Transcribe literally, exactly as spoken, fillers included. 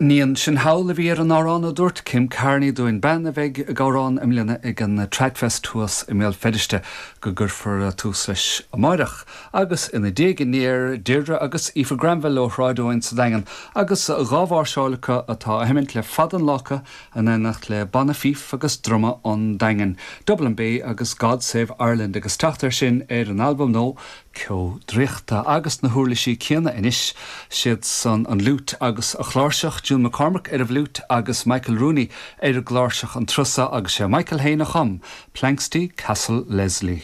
Ní ansin thall a bhí ar an amhrán a dúirt Kim Carney dúinn bean a bheidh ag amhrán i mbliana ag an Tradfest thuas i mBéal Feirste go gcuirfear tús leis amárach. Agus ina diaidh aniar Deirdre agus Aoife Granville ó Shráid Eoin sa Daingean agus dhá mháirseáil acu atá á sheimint le fada an lá acu in éineacht le Banna Fíf agus Druma an Daingin. Dublin Bay agus God Save Ireland agus teacht air sin ar an albam nua Ceo Draíochta agus na huirlisí céanna anois siad san an fhliúit agus an chláirseach June McCormack ar an bhfliúit agus Michael Rooney ar an gcláirseach an turas seo agus sé Michael féin a chum, Planxty Castle Leslie.